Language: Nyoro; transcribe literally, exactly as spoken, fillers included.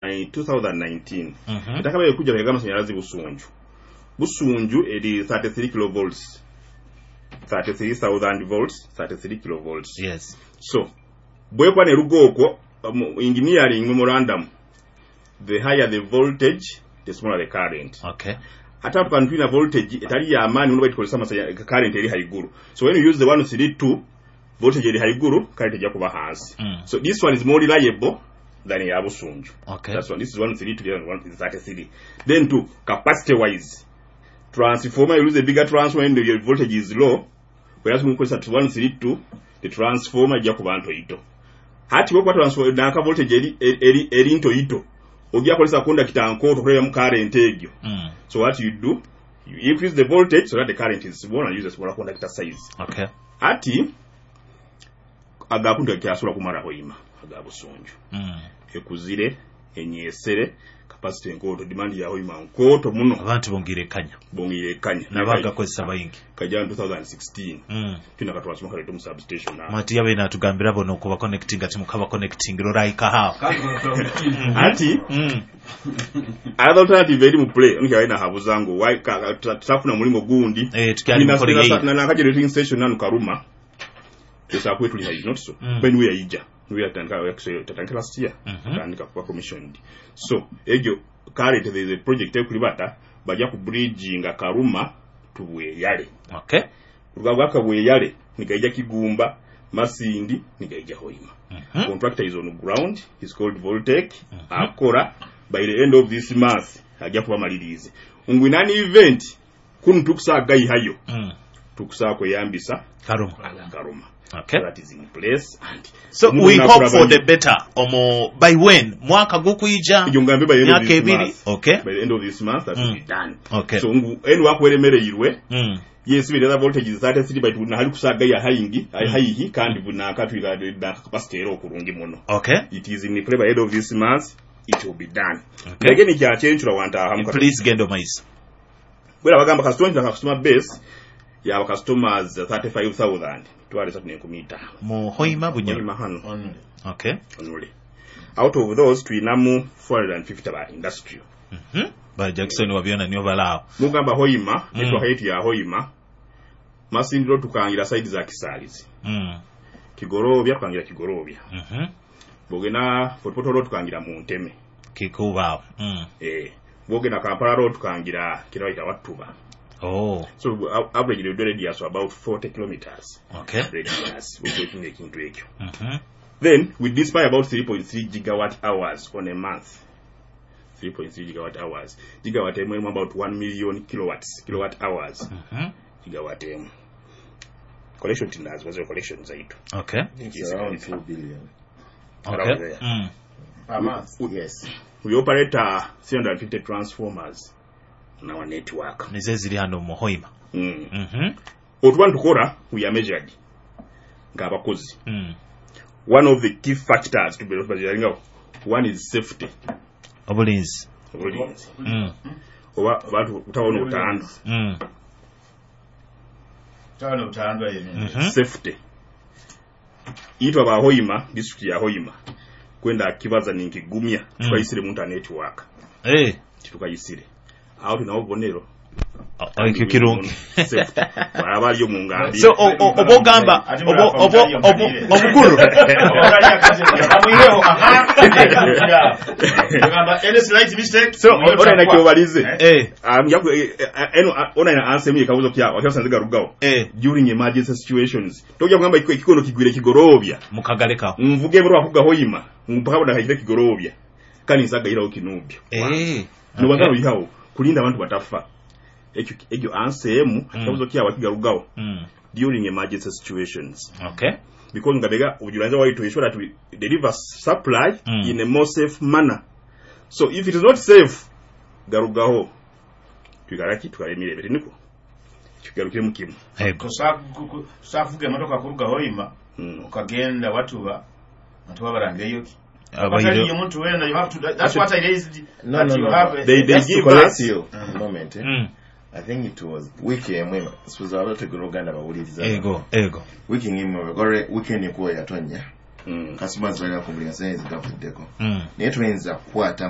twenty nineteen. Mhm. Ettaka bwe kujja bega amasanyalaze Busunju, Busunju eri thirty-three kilovolts, thirty-three thousand volts, thirty-three kilovolts. Yes. So bwekuba neruga okwo mu engineering memorandum, the higher the voltage, the smaller the current. Okay. Ate atuka tulina voltage etali yamaanyi muno, baitu amasanya current eri haiguru. So when you use the one three two, voltage eri haiguru, current ejja kuba hansi. Mm. So this one is more reliable than ya Busunju. Okay. That's one. This is one three two, the other one is thirty-three. Then two, capacity wise, transformer, you use a bigger transformer when the voltage is low, whereas mukozesa one three two, the transformer ejja kuba ntoito. Hati bwokuba transformer nanka voltage eri eri eri ntoito, ojja kozesa conductor nkooto okulebyamu current egyo. Mm. So what you do, you increase the voltage so that the current is small and use a smaller conductor size. Okay. Ati agakuntu kyasobola kumala Hoima aga Busunju. Mm. Ekuzire, enyesere, capacity nkooto, demand ya Hoima nkooto muno. Abantu bongire kanya. Bongire kanya. Nabagakozesa bayingi. Kajja mu twenty sixteen. Mm. Tulina ka transformer kaleeta mu substation awo. Mati yabe natugambira bono okuba connecting ati mukaba connecting lorayika hawo. Ati Mm. another alternative eri mu play onke alina habuza ngu why ka- ka- tuta- tutafuna mulimo gundi. Eh, tukyali mukola yeyi. Na generating station nanu Karuma esa kwetuli hayi not so. Mm. When we are ija we are tandika tatandika last year. Mhm. Tandika kuba commissioned. So egyo currently there is a project ekulibata bajja ku bridging Karuma to Bweyale. Okay. Rugabwaka Bweyale nigaija Kigumba, Masindi, nigaija Hoima. Mhm. Contractor is on ground, is called Voltec. Akora, by the end of this month ajja kuba malirize ngwinani event kunu tukusaa gayihayo. Mm. Tukusaa kweyambisa Karuma. Karuma. Okay. That is in place and So omuntu we hope for nakulaba- the better. Omo by when? Mwaka gukuyija. Ekyo ngambe by the end of Myaka this ebiri. month. Okay. By the end of this month that will Mm. be done. Okay. So ngu enu wakweremereirwe. Mm. Yes, the other voltage is thirty-three, but nahali kusaga ya hayingi mm. hayihi kandi bunaka twika na capacity era okurungi muno. Okay. It is in play. By end of this month it will be done. Okay. Again, kyakyenchula wantaahamu. Please genda omaiso. Bwera bagamba customer nti customer base yaba customers thirty-five thousand twale esatu n'enkumi ttaano. Mu Hoima, Bunyoro. Hoima hano. Okay. Onule out of those tulinamu four hundred fifty ba industrial. Mhm. Ba Jackson wabyona niyo balaawo. Mugamba Hoima, Mm. network yetu ya Hoima, Masindiro tukangira side za Kisalizi. Mm. Kigorobya tukangira Kigorobya. Mhm. Bwogenda Fort Portal tukangira mu Nteme. Kikubaawo. Mm. eh bwogenda Kampala Road tukangira kiraita Watuba. Oh. So uh, average the radius about forty kilometers Okay. radius wekinga ekintu ekyo. Mhm. Then we dispatch about three point three gigawatt hours on a month. three point three gigawatt hours, gigawatt emu erimu about one million kilowatts, kilowatt hours. Mhm. Gigawatt emu collection tinazibazo collection zaitu. Okay. It's around two billion. Okay. Around there. Mm. Per month. Yes. We operate uh, three hundred fifty transformers on our network. Nizo eziri hano mu Hoima. mm. Mhm. Otuba ntukora, we are measured ng'abakozi. Mm. One of the key factors to be one is safety. Obulinzi. Obulinzi. Mm. Oba abantu kutabona obutanda. Mm. Tano butandwa yene. Mhm. Safety itwa ba Hoima, district ya Hoima, kwenda kibaza ninkigumya, Mm. tukayisire muntu a network. Eh. Tukayisire awo tulinawo obubonero. O- Ekyo kirungi. Safety baraba aliyo mu ngambi. So o- o- oba ogamba Ate oba mulafa oba mutaliyo oba mkalire. obukulu. Amwireho, aha. Ogamba any slight mistake. So ona nakyobalize. Eh. Um, yaku- eh, eh, eno ona ina answer ekabuzo kyawo akyasanze garugawo. Eh. During emergency situations tojja kugamba ekiko- ekikono kigwire Kigorobya, Mukagalekawo. Nvuge bro akuga Hoima mpaka boda kakire Kigorobya kandi nsagayirawo Kinubyo. Eh. Nobaza Okay. oyihawo kulinda abantu batafa. Ekyo ekyo answer emu akabuzo kyawo kigarugawo. Mm. During emergency situations, Okay. because ngabega ujulanza why to ensure that we deliver supply Mm. in a more safe manner. So if it is not safe, garugaho tuikaraki tukale emirembe tiniko kigarukire mu kimu. Ego. Sakuvuga emotoka kuruga Hoima Mm. okagenda Watuba ntuba barangeyo ki Abaire. omuntu wena, you have to, that's what I raised, No, that no, you no. have a- They- they Just to give correct us- you a moment, eh? Mm. I think it was wiiki emu, sibuza abategera Oluganda bawuliriza. Ego. Ego. Wiiki ng'emu gore weekend ekuwa yatonya. Mm. Customers balina kumbulira sente zigavuddeko. Mm. Naye tuyinza kukwata